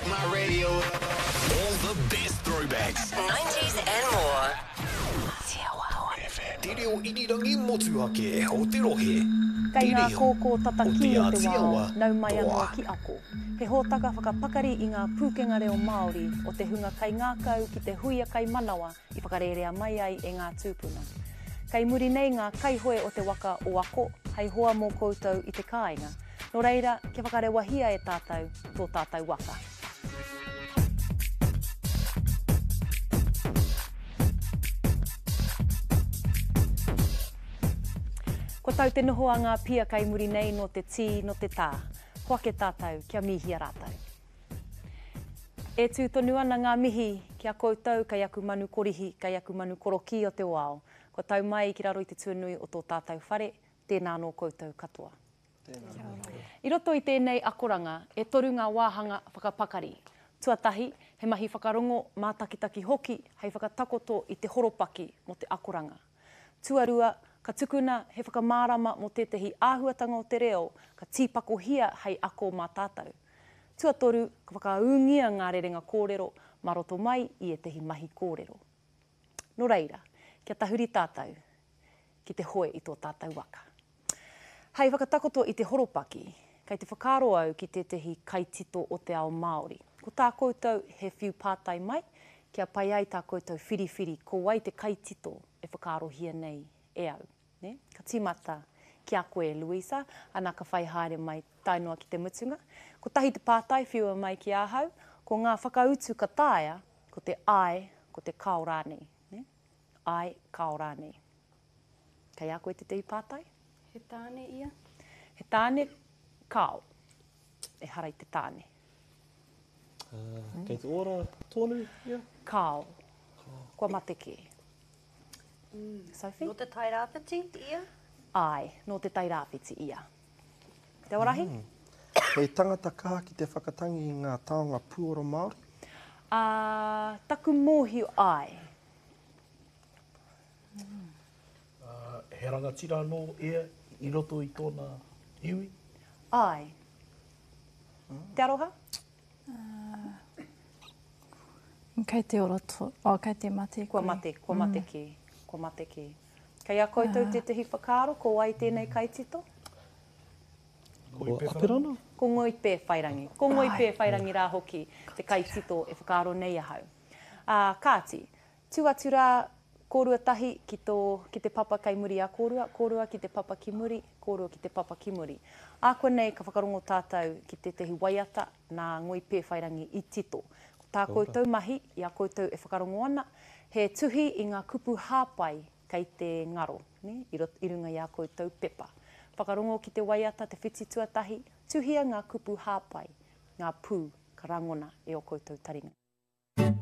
Crank my radio up. All the best throwbacks. 90s and more. Te reo irirangi motuhake o te rohe. Kei Te ngā reo kōkō o tatakī Te o te Āti wao, Awa nau mai anō toa. ki Ako. He hōtaka whakapakari i ngā pūkenga reo Māori o te hunga kaingākau ki te huia kaimanawa i whakarērea mai ai e ngā tūpuna. Kei muri nei ngā kaihoe o te waka o Ako hei hoa mō koutou i te kāinga. Nō reira, kia whakarewahia e tātou tō tātou waka. Kua tau te noho a ngā pia kei muri nei nō te tī, nō te tā. Hoake tātou kia mīhia rātou. E tū tonu ana ngā mihi ki a koutou kei aku manu korihi, kei aku manu korokī o te wao. Kua tau mai ki raro i te tuanui o tō tātou whare, tēnā anō koutou katoa. I roto i tēnei akoranga, e toru ngā wāhanga whakapakari. Tuatahi, he mahi whakarongo, mātakitaki hoki hei whakatakoto i te horopaki mō te akoranga. Tuarua, ka tukuna he whakamārama mō tētahi āhuatanga o te reo ka tīpakohia hei ako mā tātou. Tuatoru, ka whakaūngia ngā rerenga kōrero mā roto mai i ētahi mahi kōrero. Nō reira, kia tahuri tātou ki te hoe i tō tātou waka. Hei whakatakoto i te horopaki, kei te whakaaro au ki tētahi kaitito o te ao Māori. Ko tā koutou he whiu pātai mai, kia pai ai tā koutou whiriwhiri ko wai te kaitito e whakaarohia nei e au. Nē? Ka tīmata ki a koe, Louisa, ana ka whai haere mai tae noa ki te mutunga. Kotahi te pātai whiua mai ki ahau, ko ngā whakautu ka taea, ko te āe, ko te kāo rānei. Nē? Āe, kāo rānei. Kei a koe tētahi pātai? He tāne ia? He tāne, kāo. Ehara i te tāne. Uh, kei te ora tonu ia? Kāo. Kua mate kē. Mm. Sophie? Nō te Tairāwhiti ia? Āe, nō te Tairāwhiti ia. Te Awarahi? Mm. He tangata kaha ki te whakatangi i ngā taonga puoro Māori? Uh, taku mōhio, āe. Uh, he rangatira anō ia i roto i tōna iwi? Āe. Te Aroha? Uh, kei te ora to, oh, kei te mate koe. Kua mate, kua mate mm. kē, kua mate kē. Kei a koutou uh. tētahi whakaaro, ko wai tēnei kaitito? Ko Apirana? Ko Ngoi Pēwhairangi. Ko Ngoi Pēwhairangi rā hoki te kaitito e whakaaro nei ahau. Ā, kāti, Tū atu rā kōrua tahi ki tō, ki te papa kei muri a kōrua, kōrua ki te papa ki muri, kōrua ki te papa ki muri. Ākuanei ka whakarongo tātou ki tētahi waiata nā Ngoi Pēwhairangi i tito. Ko tā koutou mahi, i a koutou e whakarongo ana, he tuhi i ngā kupu hāpai kei te ngaro, nē, i roto, i runga i ā koutou pepa. Whakarongo ki te waiata te whiti tuatahi, tuhia ngā kupu hāpai, ngā pū ka rangona e ō koutou taringa.